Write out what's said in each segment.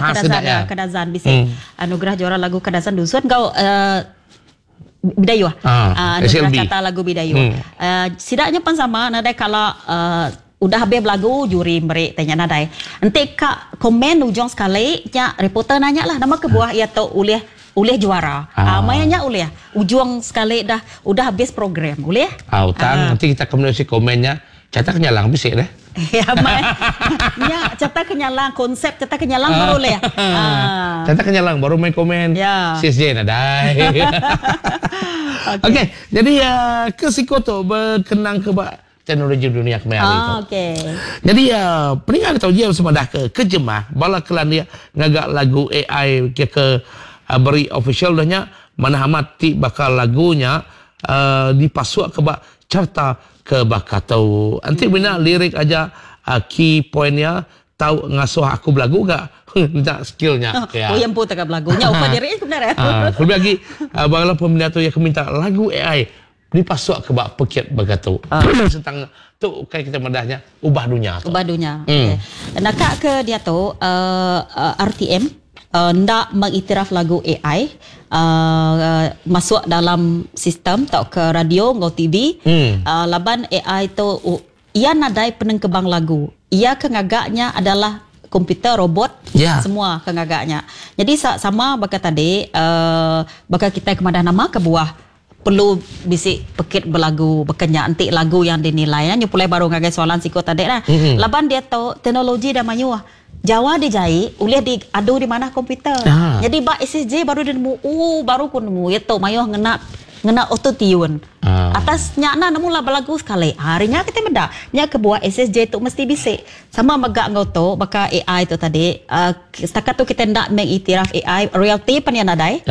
khas Kadazan sida ya ya. Kadazan bisi anugerah juara lagu Kadazan Dusun enggau Bidayuh. Anugerah SLB. carta lagu Bidayuh. Sida nya pan sama nadai kala udah habis belagu juri meri tai nya nadai. Enti ka komen ujung sekali nya reporter nanya lah nama kebuah iya tu ulih ulih juara. Maya nya ulih ujung sekali dah udah habis program ulih. Tang enti kita ke menulis komen nya carta kenyalang bisi deh. Ya mai. Nya carta kenyalang konsep carta kenyalang baru ulih. Carta kenyalang baru mai komen. Ya. CSJ nadai. Okey, jadi ke siko tu bekenang ke ba teknologi dunia kemaya hari tu. Jadi peninga tau jia semadah ke kejemah bala kelandik ngaga lagu AI ke ke beri official dah nya manah amat ti baka lagu nya dipasuk ke ba carta ke baka tu. Enti mina lirik aja key point iya tau ngasuh aku belagu ga enda skill nya. Oh iya empu teka belagu nya upa diri sebenar. Kelebih agi bala peminat tu iya ke minta lagu AI dipasuk ke ba pekit baka tu. Sentang tu ukai kita madah nya ubah dunya tu. Ubah dunya. Okey. Naka ke diatu RTM enda mengiktiraf lagu AI masuk dalam sistem tauka radio enggau TV laban AI tu iya nadai penengkebang lagu. Iya ke ngaga nya adalah komputer, robot semua ke ngaga nya. Jadi sama baka tadi baka kitai ke madah nama kebuah perlu bisi pekit belagu baka nya enti lagu yang dinilai nyu pulai baru ngagai soalan siku tadi lah. Laban diatu teknologi dah mayuh. Jawa dijai ulih diadu di manah komputer. Nyadi ba SSJ baru dia nemu ooh baru ku nemu iya tu mayuh ngena ngena auto tune. Atas nya enda nemu lah belagu sekali. Hari nya kitai meda nya kebuah SSJ tu mesti bisi. Sama mega enggau tu baka AI tu tadi setakat tu kitai enda mengiktiraf AI royalty pan iya nadai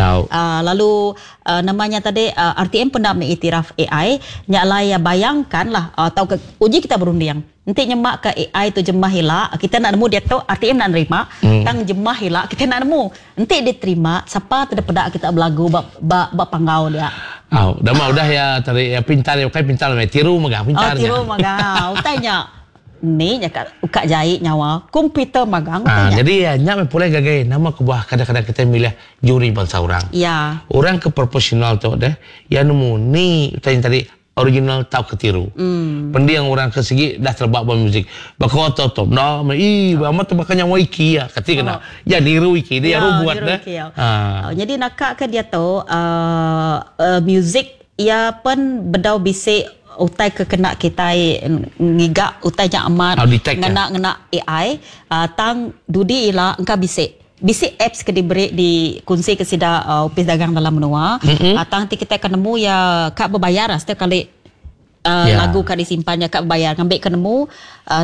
lalu Nama nya tadi RTM pun enda mengiktiraf AI. Nya alai bayangkan lah tauka uji kita berunding. Enti nyema ke AI tu jemah ila kita enda nemu diatu RTM enda nerima tang jemah ila kita enda nemu. Enti diterima sapa ti dipeda kita belagu ba ba ba panggau dia. Au dama udah iya tadi pintar ukai pintar tiru mega pintar nya. Oh tiru mega utai nya. Ni nya ka uka jai nyawa komputer magang utai nya. Jadi nya meh pulai ngagai nama kebuah kadang-kadang kitai milih juri bansa orang. Ya. Orang ke profesional tu deh iya nemu ni utai nya tadi original tauka tiru. Pending orang ke sigi dah teleba ba muzik. Baka tu tu enda meh ii amat tu baka nyawa iki iya kati kena. Iya niru iki dia Ya, robot niru deh. iki ya. Nyadi naka ke diatu muzik Iya pen bedau bisi utai ke kena kitai ngiga utai nya amat ngena ngena AI tang dudi ila engka bisi. Bisi apps ke diberi dikunsi ke sida opis dagang dalam menua tang ti kitai ke nemu iya ka bebayar setiap kali lagu ka disimpan nya ka bebayar ngambi ke nemu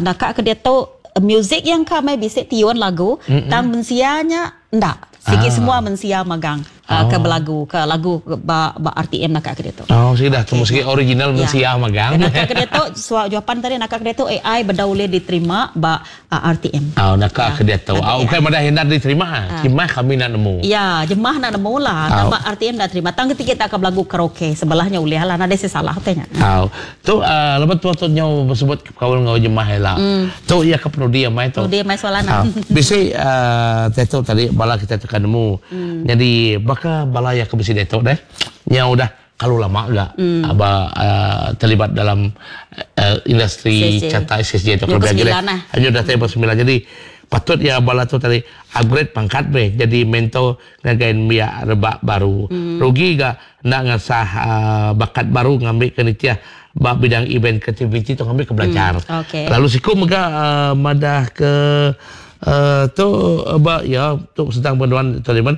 naka ke diatu music iya engka meh bisi tiun lagu tang mensia nya enda. Sigi semua mensia magang ke belagu ke lagu ba ba RTM naka ke diatu. Oh sigi dah temu sigi original mensia magang. Naka ke diatu suak jawapan tadi naka ke diatu AI bedau ulih diterima ba RTM. Oh naka ke diatu. Oh ukai madah enda diterima jemah kami enda nemu. Ya jemah enda nemu lah tang ba RTM enda terima tang ketika kita ka belagu karaoke sebelah nya ulih lah nadai seh salah utai nya. Au tu laban tua tu nyau besebut Bekaul enggau jemah ila. Tu iya ke penudi amai tu. Penudi amai soalan ah. Bisi diatu tadi bala kitai tu ka nemu. Nyadi baka bala iya ke bisi diatu deh nyau udah kalu lama ga ba terlibat dalam industri carta SSJ tu kelebih agi deh. Nyau datai ba semilan jadi patut iya bala tu tadi upgrade pangkat meh jadi mentor ngagai nembiak rebak baru. Rugi ga enda ngasah bakat baru ngambika nitih ba bidang event kreativiti tu ngambika belajar. Lalu siku mega madah ke tu ba iya tu sentang penduan Taliban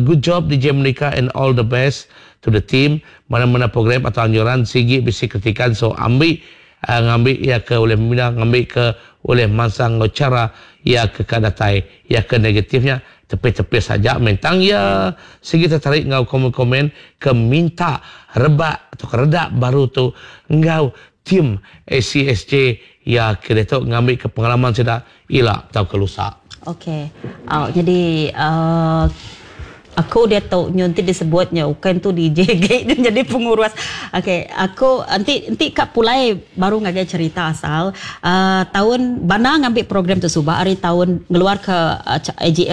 good job DJ Monica and all the best to the team mana-mana program atau anjuran sigi bisi kritikan so ambi ngambi iya ke ulih membina ngambi ke ulih mansang enggau chara iya ke ka datai iya ke negatif nya Tepis-tepis aja meh tang iya sigi tertarik enggau komen-komen ke minta rebak tauka redak baru tu enggau tim ACSJ iya ke diatu ngambika pengalaman sida ila tauka lusa. Ok. Au nyadi uhh aku diatu nyu enti disebut nya ukai entu DJ agi nyadi pengurus. Ok aku enti enti ka pulai baru ngagai cherita asal uhh taun bana ngambi program tu suba ari taun ngeluarka AGL.